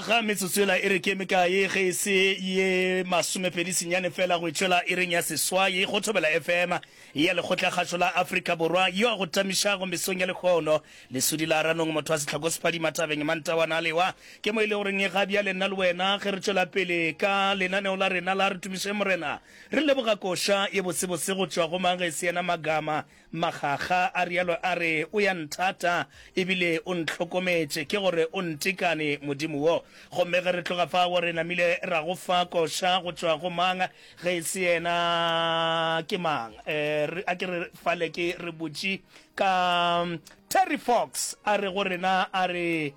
Aga metsotso yela e re ke mekae ge e se ye masomepedi senyane fela go itšwela iring ya seswai go Thobela FM ya Lekgotlakgašo la Afrika Borwa yo a go tamišago mesong ya lehono. Lesodi la Ranong motho wa sehlako sephadima thabeng Mantawana a lewa ke mo e le goreng ga bjale nna le wena ge re tšwela pele ka lenaneo la rena la Re Tumišeng Morena re leboga koša ye botsebotse go tšwa go mang ge e se yena Magama Makgakga a realo a re, O ya nthata, e bile o ntlhokometše, ke gore o ntekane, Modimo wo. Gomme ge re tloga fao, re namile ra go fa koša go tšwa go mang, ge e se yena? Ke mang? Re, a ke re fale ke re botše ka Terry Fox, a re go rena, a re,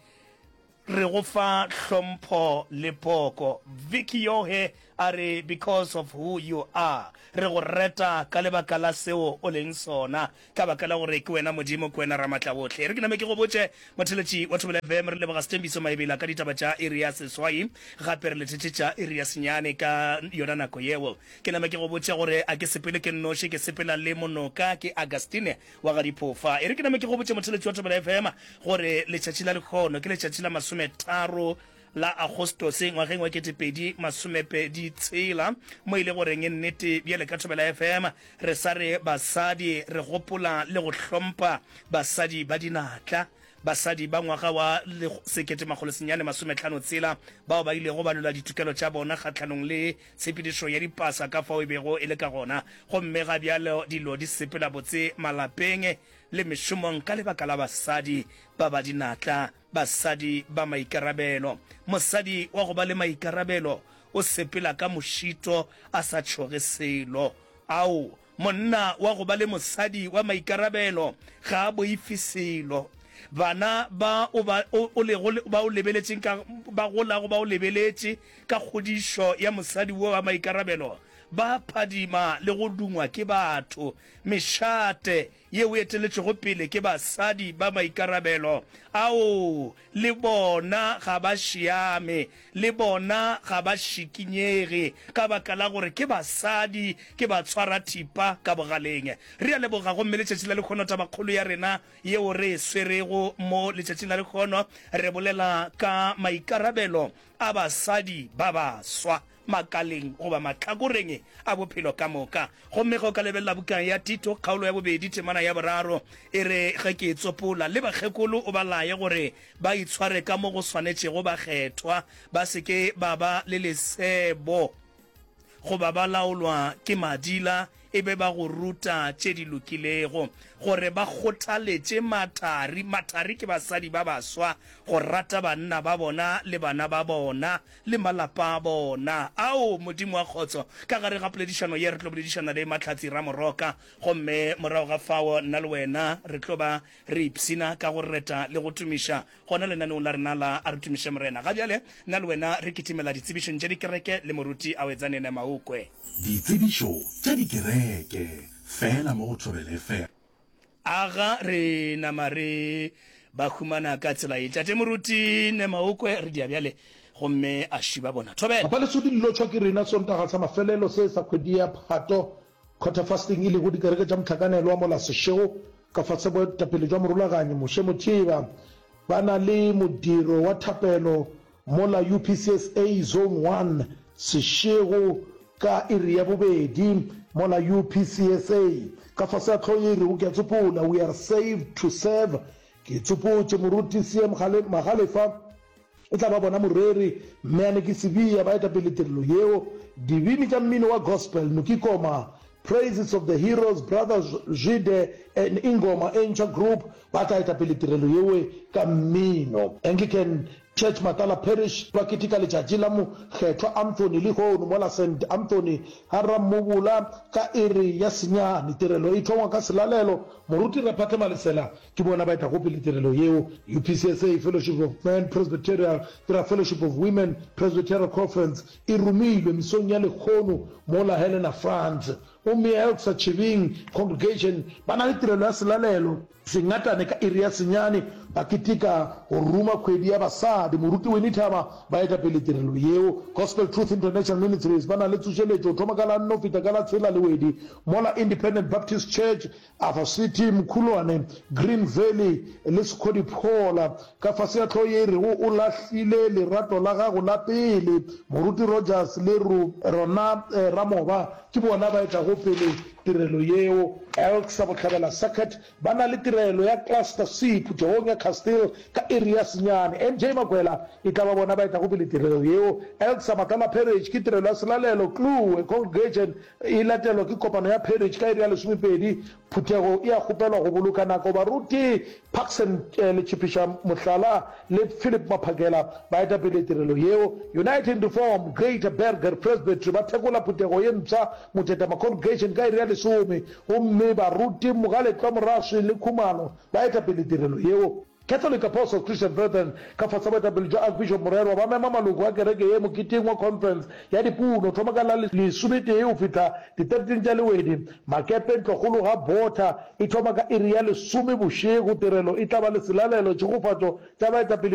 Re go fa hlompho le poko. Vicky Yohe a re because of who you are. Re go reta ka lebaka la seo o leng sona, ka baka la gore ke wena Modimo, ke wena Ramatlaohle. E re ke name ke go botše, motheletši wa Thobela FM, re leboga Sthembiso Maebela ka ditaba tša iri ya seswai, gape re lethetše tša iri ya senyane ka yona nako yeo. Ke name ke go botše gore a ke sepele ke nnoši, ke sepela le monoka, ke Augustine wa ga Diphofa. E re ke name ke go botše motheletši wa Thobela FM gore letšatši la lekgono ke letšatši la masometharo la Agostose ngwageng wa 2026, mo e le goreng nnete bjale ka Thobela FM re sa re basadi re gopola le go hlompha basadi ba dinatla, basadi ba ngwaga wa 1956 bao ba ilego ba lwela ditokelo tša bona kgahlanong le Tshepedišo ya dipasa ka fao e bego e le ka gona, gomme ga bjalo dilo di sepela botse malapeng le mešomong ka lebaka la basadi ba ba dinatla, basadi ba maikarabelo. Mosadi wa go ba le maikarabelo o sepela ka mošito a sa tšhoge selo. Ao, Monna wa go ba le mosadi wa maikarabelo ga a boife selo. Bana ba o ba o, o lego ba o lebeletšeng ka ba golago ba o lebeletše ka kgodišo ya mosadi wo wa maikarabelo ba phadima le go dungwa ke batho. Mešate yeo e eteletšwego pele ke basadi ba maikarabelo ao le bona ga ba šiame, le bona ga ba šikinyege, ka baka la gore ke basadi, ke batshwarathipa ka bogaleng. Re a leboga. Gomme letšatši la lehono, tabakgolo ya rena yeo re e swerego mo letšatšing la lehono, re bolela ka maikarabelo a basadi ba baswa. makaleng goba mahlakoreng a bophelo ka moka. Gomme ge o ka lebelela buka ya Tito, kgaolo ya bobedi, temana ya boraro, e re, Ge ke e tsopola, le bakgekolo o ba laye gore ba itshware ka mo go swanetšego bakgethwa, ba se ke ba ba le lesebo goba ba laolwa ke madila, e be ba go ruta tše di lokilego, gore ba kgothaletše mathari, mathari ke basadi ba baswa, go rata banna ba bona le bana ba bona, le malapa a bona. Ao, Modimo wa kgotso! Ka gare ga poledišano ye re tlo boledišana le Mahlatsi Ramoroka, gomme morago ga fao nna le wena re tlo ba re ipshina ka go reta le go tumiša gona lenaneong la rena la A Re Tumiše Morena. Ga bjale nna le wena re kitimela ditsebišong tša dikereke le Moruti Awedzane Nemaukwe. Ditsebišo tša dikereke, feela mo go Thobela FM. Aga re nama re ba humana ka tsela ye. Tate Moruti Nemaokwe re dia bjale gomme a šiba bona. Thobela. Papa Lesodi le lotšhwa ke rena Sontaga sa mafelelo se sa kgwedi ya Phato, Quarter Fasting, e lego dikereke tša mohlakanelwa mola Seshego ka fase boetapele jwa morulaganyi Moshe Mothiba ba na le modiro wa thapelo Mola UPCSA Zone One Seshego ka iri ya bobedi, mola UPCSA ka fase ga hlogo ye e rego Ke a Tsopola, We Are Saved to Serve, Ke Tsopotše, Moruti CM Magalefa e tla ba bona moreri, Mme Aneki Sibiya ba eta pele tirelo yeo, dibini tša mmino wa gospel, Noki Koma, Praises of the Heroes, Brother Zwide and Ingoma e Ntšha Group ba tla eta pele tirelo yeo ka mmino. Anglican Church Matala Parish ba keteka letšatši la Mokgethwa Anthony lehono mola Saint Anthony ga Rammobola ka iri ya senyane. Tirelo e thongwa ka selalelo. Moruti Raphatle Malesela ke bona ba etago pele tirelo yeo. UPCSA Fellowship of Men Presbyterial ke ra Fellowship of Women Presbyterial Conference e romilwe mesong ya lehono mola Helena France. Gomme Elksa Chibing Congregation ba na le tirelo ya selalelo sengatane ka iri ya senyane, ba keteka go ruma kgwedi ya basadi. Moruti Winnie Thaba ba eta pele tirelo yeo. Gospel Truth International Ministries ba na le tsošeletšo go thoma ka la nne go fihla ka la tshela Lewedi mola Independent Baptist Church Arthur City, Mkhulwane, Green Valley le Sekgodiphola. Ka fase ga hlogo ye e rego O Lahlile Lerato la Gago la Pele, Moruti Rogers le Rona Ramoba ke bona ba etago pele tirelo yeo. Elksa Bohlabela Circuit ba na le tirelo ya Cluster C phuthegong ya Castile ka iri ya senyane. MJ Makwela e tla ba bona ba etago pele tirelo yeo. Elksa Matlala Parish ke tirelo ya selalelo Kluwe Congregation E latelwa ke kopano ya parish ka iri ya lesomepedi. Phuthego e a kgopelwa go boloka nako. Baruti Parkson Letšhiphiša Mohlala le Philip Maphakela ba eta pele tirelo yeo. Uniting Reform Greater Burger Presbytery ba thekola phuthego ye mpsha Motetema Congregation ka iri ya lesome gomme baruti Mogaletlwa Moraswi le Khumalo ba eta pele tirelo yeo. Catholic Apostles Christian Brethren ka fase ga boetapele bja Archbishop Morerwa ba mema maloko a kereke ye moketeng wa conference ya dipuno thoma ka la lesometee go fihla di 13 tša Lewedi. Makepe ntlokgolo ga Botha e thoma ka iri ya lesome bošego. Tirelo e tla ba le selalelo, tšhegofatšo tša baetapele.